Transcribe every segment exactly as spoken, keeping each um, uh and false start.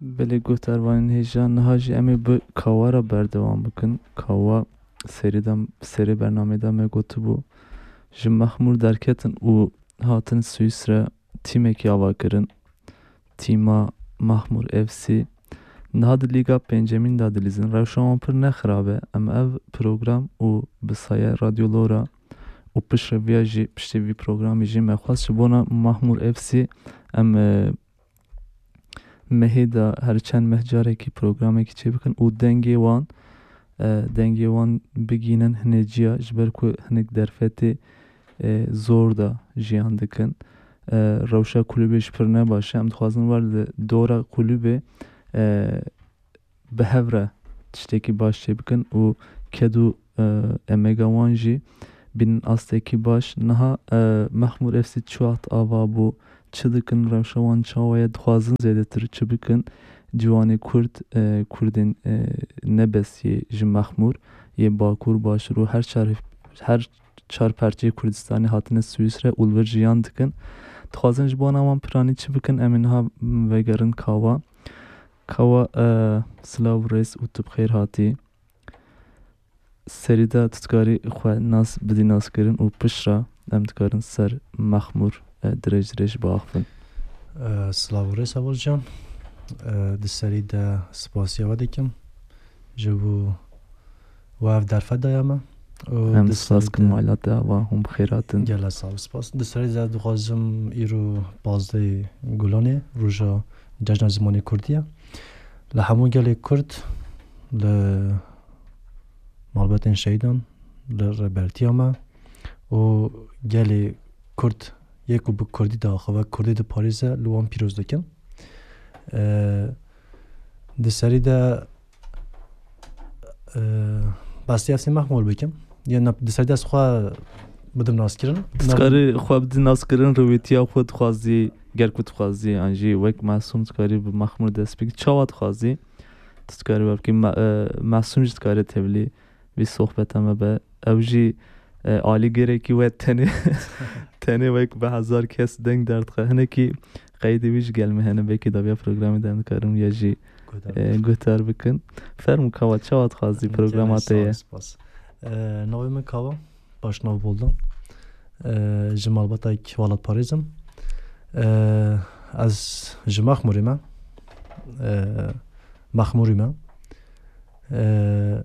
Belê, guhdarvanên hêja, niha jî em ê bi Kawa re berdewam bikin. Kawa serê de, serê bernamê de me gotibû, ji Mexmûr derketin û hatin Swîsre, tîmekî ava kirin. Tîma Mexmûr F C. Niha di Lîga Pêncemîn de dilîzin. Rewşa wan pir ne xirab e. Em ev program û bi saye Radyo Lora û piştre viya jî, piştî vî programî jî me xwest ji bona Mexmûr F C em, e, mehê de her çend meh carekî programekî çêbikin û dengê wan, e, dengê wan bigînin hinê ciya, ji ber ku hinek derfetê, e, zor de jiyan dikin. E, rewşa kulübê jî pir ne baş e. Em dixwazin wer li dora kulübê, e, bi hev re tiştekî baş çêbikin û ked û, e, emega wan jî bînin astekî baş. Niha, e, Mexmûr F C çi wext ava bû, çi dikin, rewşa wan çawa ye, dixwazin zêdetir çi bikin? Ciwanê Kurd, e, Kurdên, e, ne bes yê ji Mexmûr, yê Bakur, Başûr û her çar, her çar perçeyê Kurdistanê hatine Swîsre û li vir jiyan dikin. Dixwazin ji bona wan piranî çi bikin? Em ê niha vegerin Kawa. Kawa, e, silav û rêz û tu bi xêr hatî. Serî de tu dikarî xwe nas bidî naskirin û piştre em dikarin ser Mexmûr, e, dirêj dirêj biaxivin. E, silav û rêz Heval can. E, di serî de spasiya we dikim ji bo we ev derfet daye me. Û Em di spas serî kin de mala te ava hûn bi xêr hatin. Gela sağ ol, spas. Di serî de dixwazim îro pazdehê Gulanê, roja Cejna Zimanê Kurdî ye. Li hemû gelê Kurd, li malbatên şehîdan, li rêbertiya me û gelê Kurd yê ku bi Kurdî diaxive, Kurdî diparêze, li wan pîroz dikim. E, di serî de, e, bes F C Mexmûr bikim. Yên di serî de ez xwe bidim naskirin. Tu dikarî xwe bidî naskirin, rûvîtiya xwe dixwazî, ger ku dixwazî, an jî wek Mesûm dikarî bi Mexmûr dest bikî. Çawa dixwazî? Tu dikarî we bikî, Me-, e, Mesûm jî dikarî tevlî vî sohbeta me be. Ew jî, e, alîgêrekî we tenê, tenê wek bi hezar kes deng derdixe. Hinekî qeydê wî ji gel me hene, belkî dawiya programê de em dikarin ya jî, Guhdar e, bikin. Guhdar bikin. Fermû Kawa, çawa dixwazî, programa te ye? Spas, spas. E, navê min Kawa, Başnav Boldan. E, ji malbata welatparêz im. E, ez ji Mexmûrê me. E, Mexmûrî me. E,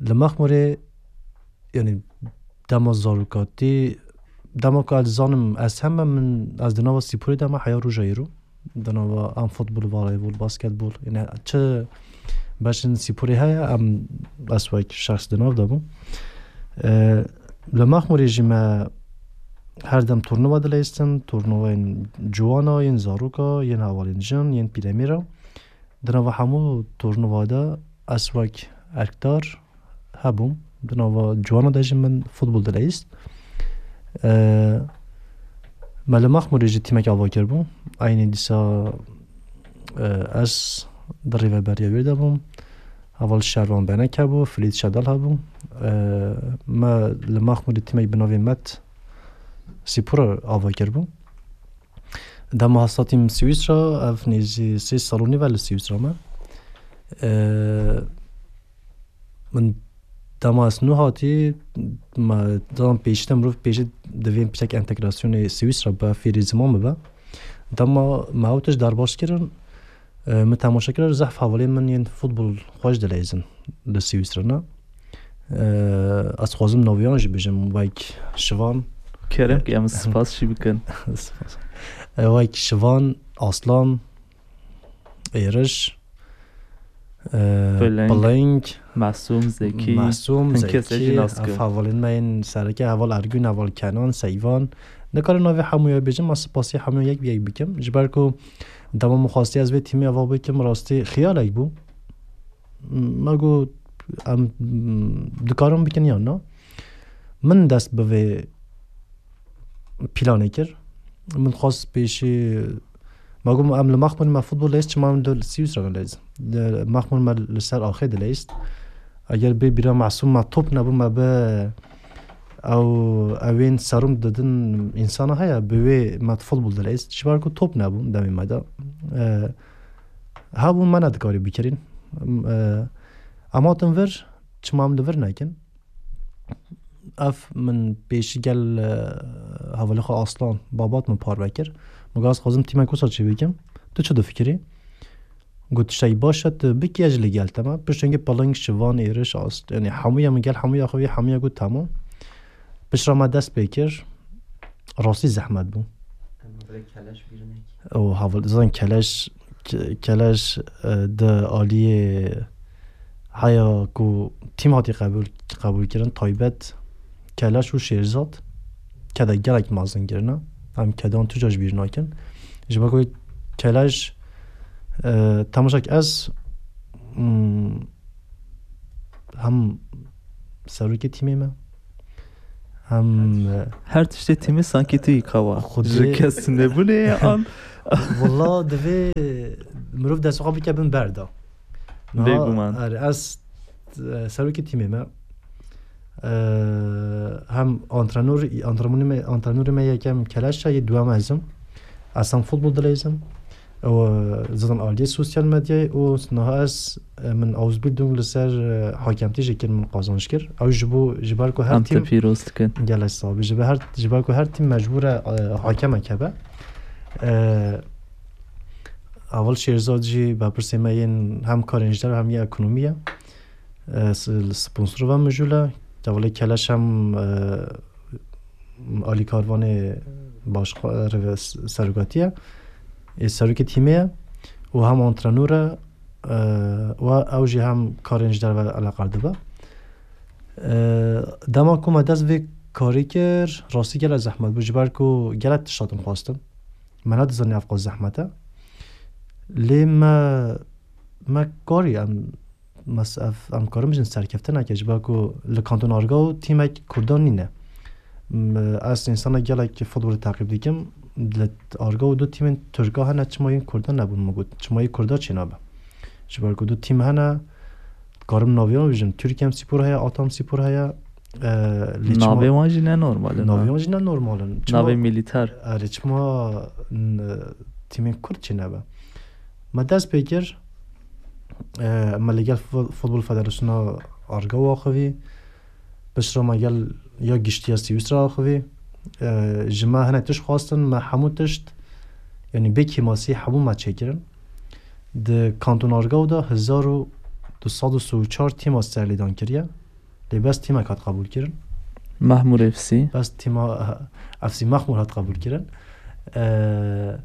li Mexmûrê, yanî dema zarokatî, dema ku ez dizanim ez heme min, ez di nava spûrê de me heya roja îro. Di nava em futbol, voleybol, basketbol, yanî çi beşên spûrê heye, em, ez wek şexs di nav de bûm. E, li Mexmûrê jî me her dem turnuva dileyistin, turnuvayên ciwana, yên zaroka, yên hevalên jin, yên pîlemîra. Di nava hemû turnuva de ez wek erkdar hebûm. Di nava ciwana de jî min futbol dileyîst. E, me li Mexmûrê jî tîmek ava kiribû. Eynî dîsa, e, ez di rêveberiya wê de bûm. Heval Şervan Benek hebû, Filît Şedal hebû. E, me li Mexmûrê tîmek bi navê Met Spor ava kiribû. Dema ez hatîm Swîsra, ev nêzî sê sal û nîv e li Swîsra me. Ee, min dema ez nû hatî, me, dema pêşî de mirov pêşî divê piçek entegrasyonê Swîsra be, fêrî ziman bibe. Dema me ew tişt derbas kirin, e, min temaşe kir, zehf hevalên min yên futbol xweş dileyzin li Swîsra ne. E, ez xwazim naviyan jî bijim, wek Şivan. Kerem ki em spas jî bikin. Spas. E, wek Şivan, Aslan, Êriş, e, Piling. Piling, Mesûm, Zekî. Mesûm, hin kes ez jî Zekî, nas kim. Ev hevalên me yên sereke, heval Ergûn, heval Kenan, Seyvan. Nikarim navê hemûya bêjim, ez spasî hemûya yek bi yek bikim. Ji ber ku dema min xwestiye ez vê tîmê ava bikim, rastî xiyalek bû. Me got, em, dikarin bikin yan na? Min dest bi vê planê kir. Min xwest pêşî, me got, em li Mexmûr me futbol leyst, çima em li Swîsra neleyst? Li Mexmûr me li ser axê dileyst. Eger bê bîra Mesûm me top nebû, me bi ew, ewên serum didin însana heye, bi wê me futbol dileyst. Ji ber ku top nebû demê me de. E, Hebûn me nedikarî bikirîn. Em, e, em hatin vir, çima em li vir nekin? Ev min pêşî gel, e, hevalê xwe Aslan, Babat min parve kir. Min got, ez xwazim tîmek wisa çêbikim. Tu çi difikirî? Got, tiştekî baş e, tu bikî, ez jî li gel te me. Piştengê piling, şivan, êriş, ast-, yanî hemûya min gel, hemûya xwe vî, hemûya got, temam. Piştre me dest pê kir. Rastî zehmet bû. Em vê keleş bîr nekin. Û heval, zaten keleş, ke-, keleş, e, di aliyê heya ku tîm hatî qebûl, qebûl kirin, taybet keleş û şêrzat keda gelek mezin kirine. Em kedan tu car ji bîr nakin. Ji ber ku keleş, e, temaşek ez, mm, hem serokê tîmê me, hem, e, Her tiştê tîmê sankî tu yî kawa. Xwedê Ji kes nebûne ya an. Wala divê mirov dest xwe bike bin berda. Niha, Bêguman. Er, ez, e, serokê tîmê me. E, hem antrenor, antrenor me, antrenorê me yekem keleş e, yê duwem ez im. Ez hem futbol dileyzim. Û, e, zaten aliyê sosyal medyayê û niha ez, e, min Ausbildung li ser, e, hakemtî jî kir, min qazanç kir. Ew ji bo, ji ber ku her Em te tîm pîroz dikin. Gelek sax bî. Ji ber her, ji ber ku her tîm mecbûr e, e, hakemek hebe. E, Heval Şêrzad jî berpirsê me yên hem karên ji derve hem yê ekonomî ye. E, s-, li sponsor ve mijûl e. Hevalê Keleş hem, e, alîkarvanê başxwe-, rêve-, s-, serokatî ye. Ê serokê tîmê ye û hem antrenor e, e, û ew jî hem karên ji derve eleqar dibe. E, dema ku me dest vê karî kir, rastî gelek zehmet bû, ji ber ku gelek tişt hatin xwestin. Me nedizanî ev qas zehmet e. Lê me, me karî em, mes-, ev, em karin bijin serkeftineke, ji ber ku li Kanton Argao tîmek Kurdan nîne. M-, ez însanek gelek futbolê teqîb dikim. Li Argao du tîmên Tirka hene, çima yên Kurdan nebûn, min got. Çima yê Kurda çênabe? Ji ber ku du tîm hene, karim naviyan bijim. Türkem Spor heye, Atam Spor heye. E, lê çima Navê wan jî ne normal in, Navê ha? Wan jî ne normal in. Çima Navê milîter. Erê, çima, n-, tîmên Kurd çênebe? Me dest pê kir. E, me li gel Fu-, Futbol Federasyona Argao axivî. Piştre me gel ya giştî ya Swîsra axivî. E, ji me hinek tişt xwestin, me hemû tişt, yanî bê kêmasî hemû me çêkirin. Di Kanton Argao de hezar û du sed û sî û çar tîma serlêdan kiriye. Lê bes tîmek hat qebûl kirin. Mahmûr F C. Bes tîma F C Mahmûr hat qebûl kirin. E,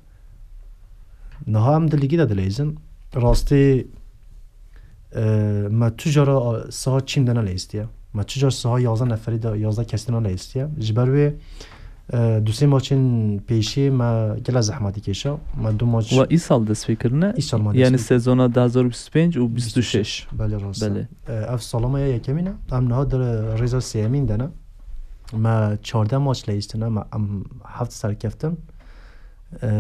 niha em di lîgî de dileyzin. Rastî, e, me tu cara siha çîm de neleyîstiye. Me tu car siha yazdeh neferî de, yazdeh kesî de neleyîstiye. Ji ber wê, e, du sê maçên pêşî me gelek zehmetî kêşa. Me du maç We îsal dest pê kirine? Îsal me dest Yanî pê sezona du hazar bîst û pênc û bîst û şeş. Belê, rast e. Belê. E, ev sala me ya yekemîn e. Em niha di rêza sêyemîn de ne. Me çardeh maç leyîstine, me em heft serkeftin. E,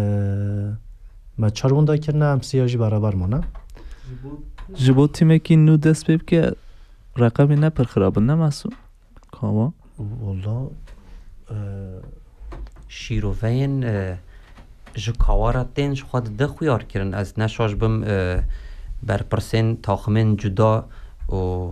me çar winda kirine, em sêya jî beraber mane. Ji bo tîmekî nû dest pê bike, reqemê ne pir xirab in, ne Masûm? Kawa? Walla, e, Şîroveyên, e, ji kawa re tên ji xwe dide xuyar kirin. Ez ne şaş bim, e, berpirsên taximên cuda û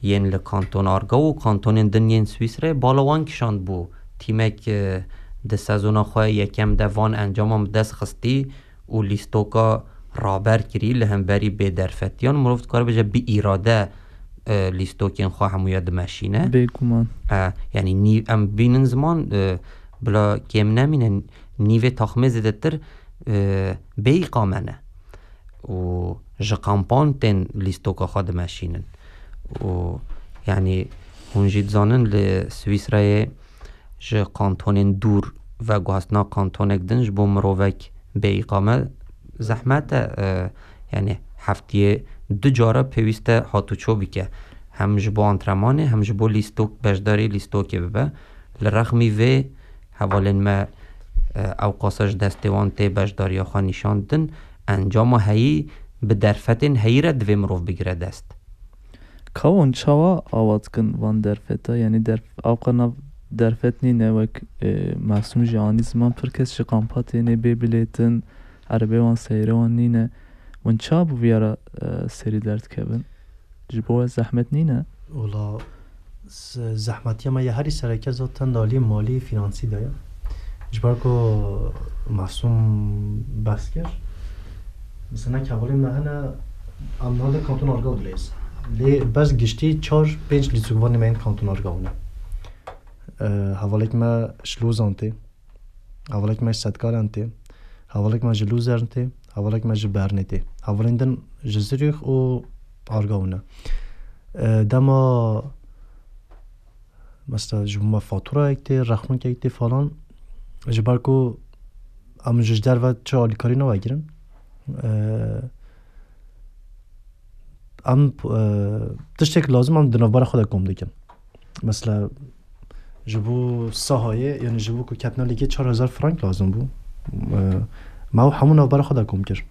yên li Kanton Argao û kantonên din yên Swîsreyê bala wan kişand bû. Tîmek, e, di sezona xwe yekem de van encama bi dest xistî û lîstoka raber kirî li hemberî bêderfetiyan. Mirov dikare bêje bi îrade, e, lîstokên xwe hemûya dimeşîne. Bêguman. E, yanî nî-, em bînin ziman, e, bila kêm nemîne, nîvê taxmê zêdetir, e, bê îqame ne. Û ji kampan tên lîstoka xwe dimeşînin. Û yanî hûn jî dizanin li Swîsreyê ji kantonên dûr veguhastina kantonek din ji bo mirovek bê îqame zehmet e, e, yanî heftiyê du cara pêwîst e hatûçû bike. Hem ji bo antrenmanê hem ji bo lîstok, beşdarî lîstokê bibe. Li rexmî vê hevalên me, e, ew qasa ji destê wan tê beşdariya xwe nîşan din, encama heyî bi derfetên heyî re divê mirov bigire dest. Kawon çawa awa dikin van derfeta? Yanî derf-, awqa nav derfet nîne wek, e, Masûm jî anî ziman, pir kes ji kampa têne bê bilêtin, erebê wan seyre wan nîne. Hûn çawa bi vîya re, e, serî derdikevin? Ji bo we zehmet nîne? Wala, z- zehmetiya me ya herî sereke zaten di aliyê malî, fînansî de ye. Ji ber ku Mesûm behs kir, mesela hevalên me hene, em niha di kanton Argaw dileyz. Lê bes giştî çar pênc lîstikvanê me yên kanton Argaw ne. E, hevalek me ji Lozan tê. Hevalek me ji Setkalan tê. Hevalek me ji Luzern tê. Hevalek me ji Bernê tê. Hevalên din ji Zurîx û Argaw ne. E, dema mesela ji bo me faturayek tê, rexmikek tê falan, ji ber ku em ji derve çi alîkarî navegirin. E, em, e, tiştek lazim em di navbera xwe de kom dikin. Mesela ji bo sahayê, yani ji bo ku ketine lêkê çar hezar frank lazim bû. E, me ew hemû navbera xwe de kom kir.